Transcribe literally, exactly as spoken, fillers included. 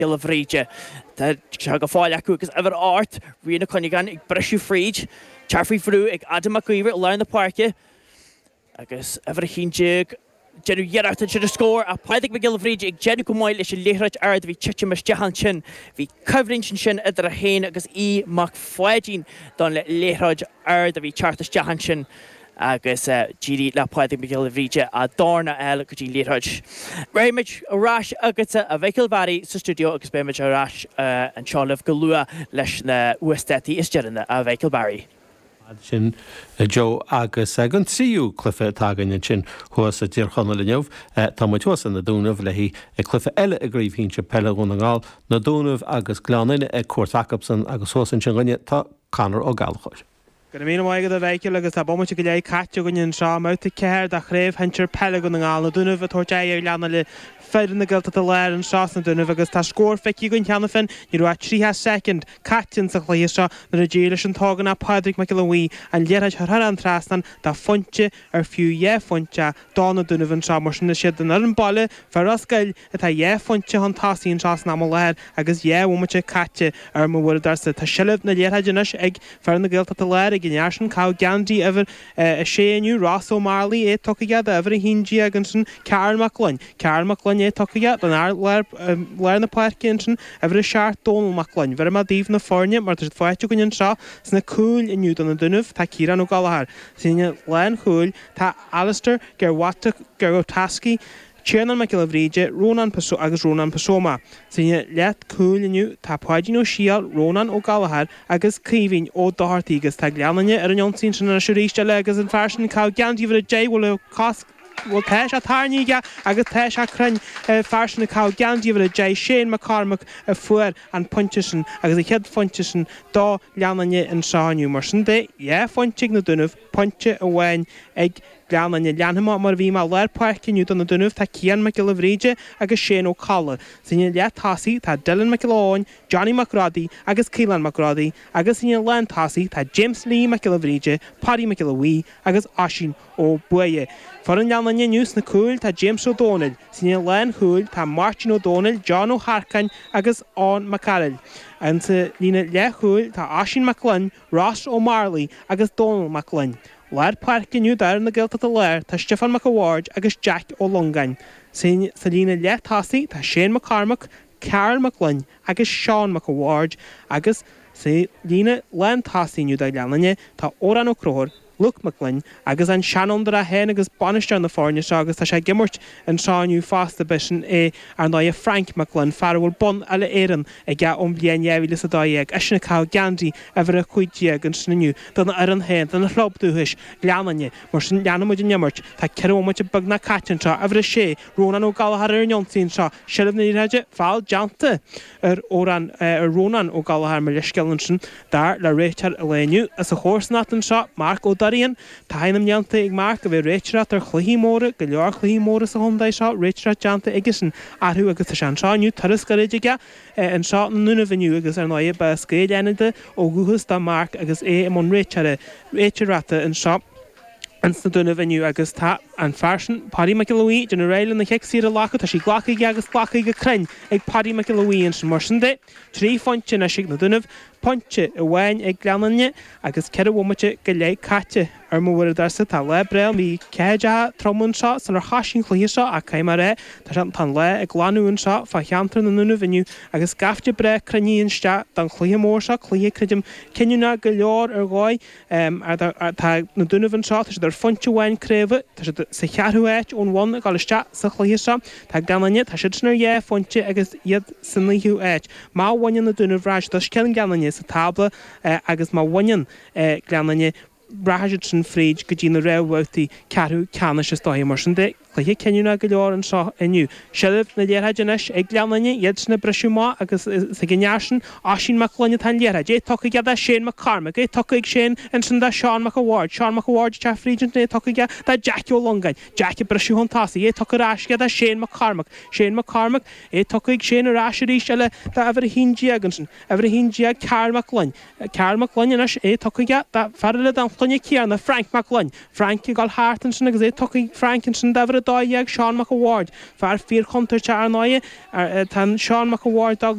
Giolla Bhríde. Tá sé go fóill acu agus uimhir a hocht, Rian Ó Cuinneagáin ag briseadh fríd. Teacht faoi bhrú ag Adam Mac Íomhair i lár na páirce agus uimhir a haon déag déanamh iarracht ansin a scór ach Pádraig Mac Giolla Bhríde ag déanamh go maith leis an liathróid ard a bhí titim isteach ansin. Bhí coimhlint ansin idir é féin agus Aodh Mac Pháidín don liathróid ard a bhí teacht isteach ansin agus d'éirigh le Pádraig Mac Giolla Bhríde a dhorn a fháil go dtí an liathróid. Beimid ar ais agatsa a Mhichíl Bharry sa stiúideo agus beimid ar ais anseo libh go luath leis na huasdátaí is deireanaí a Mhichíl Barry. sin Joe agus an tríú cluiche atá againn ansin thuas i dTír Chonaill inniu tá muid thuas in Na Dúnaibh le haghaidh cluiche eile i gcraobh shinsir peile Dhún na nGall Na Dúnaibh agus Gleann Fhinne ag cuairt acusan agus thuas ansin againne tá Conor Ó Gallchóir. Go raibh míle maith agat a Mhichíl agus tá bomaite go leith caite againn anseo i mbabhta ceathair de chraobh shinsir peile Dhún na nGall na Dúnaibh ag tabhairt aghaidh ar Ghleann Fhinne foireann na Gaeltachta Láir anseo sna Dúnaibh agus tá scór feicthe againn cheana féin ní raibh ach tríocha soicind caite sa chluiche seo nuair a d'éirigh leis an t-ógánach Pádraig Mac Giolla Bhuí an liathróid a chur an trasnán do phointe ar fiú dhá phointe do na Dúnaibh anseo mar sin is iad an fhoireann baile fir Ros Goill atá dhá phointe chun tosaigh anseo san am i láthair agus dhá bhomaite caite ar mo uaireadóirsa. Tá seilbh na liathróide anois ag fir na Gaeltachta Láir ag an fhear sin caitheamh geansaí uimhir a sé inniu Ross Ó Marlaí é tugtha aige d'uimhir a haon déag ansin Karl Mac Gloinn. Karl Mac Gloinn é tugtha aige don fhear lár lár na páirce ansin uimhir a seacht Dónal Mac Gloinn. Bheir mé daoibh na foirne mar tá siad faighte againn anseo sna cúil inniu do na Dúnaibh tá Ciarán Ó Gallchóir. Sa líne lánchúil tá Alistair Gerwataski, Tiarnán Mac Giolla Bhríde, Rónán agus Rónán Pasoma. Sa líne leathchúil inniu tá Páidín Ó Siadhail, Rónán Ó Gallchóir agus Caoimhín Ó Dochartaigh agus tá Gleann Fhinne ar an ionsaí sin anois arís eile agus an fear sin caitheamh geansaí uimhir a deich bhfuil cos bhfuil tá sé tarraingthe aige agus tá sé cruinn fear sin caitheamh geansaí uimhir a deich Shane McCormack a fuair an pointe sin agus an chéad phointe sin do Ghleann Fhinne anseo inniu mar sin de dhá phointe ag na Dúnaibh pointe amháin ag Gleann Fhinne leanfaidh mar a bhí mé lár páirce inniu do na Dúnaibh tá Cian Mac Giolla Bhríde agus Shane Ó Colla. Sa líne leath-tosaigh tá Dylan Mac Giolla Eoin, Johnny Mac Rodaí agus Caolan Mac Rodaí agus sa líne lántosaigh tá James Lee Mac Giolla Bhríde, Paddy Mac Giolla Bhuí agus Oisín Ó Buaidhe. Foireann Ghleann Fhinne inniu sna cúil tá James Ó Dónaill, sa líne lánchúil tá Martin Ó Dónaill, John Ó Harcáin agus Eoin Mac Cearaill. An sa líne leathchúil tá Oisín Mac Gloinn, Ross Ó Marlaí agus Dónal Mac Gloinn. Lár páirce inniu d'fhoireann na Gaeltachta Láir tá Stiofán Mac a' Bhaird agus Jack Ó Longáin. Sa líne leath-tosaigh tá Shane McCormack, Karl Mac Gloinn agus Seán Mac a' Bhaird agus sa líne lántosaigh inniu do Ghleann Fhinne tá Órán Ó Conchúir, Luke Mac Gloinn agus an seanfhondúir é féin agus bainisteoir na foirne seo agus tá sé ag imirt anseo inniu fosta b'shin é ar ndóigh Frank Mac Gloinn fear a bhfuil bonn uile Éireann aige ón bhliain dhá mhíle is a dó dhéag eisean ag caitheamh geansaí uimhir a cúig déag ansin inniu don fhoireann féin don chlub dúchais Gleann Fhinne mar sin leanfaimid an imirt tá ceithre bhomaite beagnach caite anseo uimhir a sé Rónán Ó Gallchóir ar an ionsaí anseo seilbh na liathróide feall déanta ar Órán ar Rónán Ó Gallchóir mar leithscéal ansin dar le réiteoir an lae inniu as a chomharsanacht anseo Marc Ó Doirín Tá ainm déanta ag Marc a bheith réiteoireacht ar chluichí móra go leor cluichí móra sa chontae seo réiteoireacht déanta aigesean orthu agus tá sé anseo inniu turas gairid aige anseo na nDúnaibh inniu agus ar ndóigh ba as Gaeil Fhánada ó dhúchas do Marc agus é i mbun réiteora réiteoireachta anseo ins na Dúnaibh inniu agus tá an fear sin Paddy Mac Giolla Bhuí déanamh réidh lena chic saor a ghlacadh tá sí glactha aige agus glactha go cruinn ag Paddy Mac Giolla Bhuí ansin mar sin de trí phointe anois ag na Dúnaibh pointe amháin ag Gleann Fhinne agus ceithre bhomaite go leith caite ar mo uaireadóirsa tá lá breá bhí ceathair trom anseo sular thosaigh an cluiche seo ach caithfidh mé a rá tá sé tá an lá ag glanadh anseo fá cheantar na nDúnaibh inniu agus gaibhte breá cruinnithe isteach don chluiche mór seo cluiche creidim cinniúnach go leor ar dhóigh tá na Dúnaibh anseo tá siad ar phointe amháin craoibhe tá siad sa cheathrú háit ón bhun ag dul isteach sa chluiche seo tá Gleann Fhinne tá siad sin ar dhá phointe agus iad sa naoú háit má bhaineann na Dúnaibh rachaidh siad os cionn Gleann Fhinne sa tábla agus má bhaineann Gleann Fhinne rachaidh siad sin fríd go dtí na réamhbhabhtaí ceathrú ceannais is dóigh mar sin de cluiche cinniúnach go leor anseo inniu. Seilbh na liathróide anois ag Gleann Fhinne iad sin ag briseadh amach agus is ag an fhear sin Oisín Mac Gloinn atá an liathróid. É tugtha aige do Shane McCormack, é tugtha ag Shane ansin do Seán Mac a' Bhaird, Seán Mac a' Bhaird ag teacht fríd ansin é tugtha aige do Jack Ó Longáin, Jack ag briseadh chun tosaigh, é tugtha ar ais aige do Shane McCormack, Shane McCormack, é tugtha ag Shane ar ais arís eile do uimhir a haon déag ansin, uimhir a haon déag Karl Mac Gloinn, Karl Mac Gloinn anois é tugtha aige do fear eile den chloinne céanna Frank Mac Gloinn, Frank ag dul thart ansin agus é tugtha ag Frank ansin d'uimhir a a dó dhéag Seán Mac a' Bhaird, fear fíorchontúirteach ar ndóigh. Tá Seán Mac a' Bhaird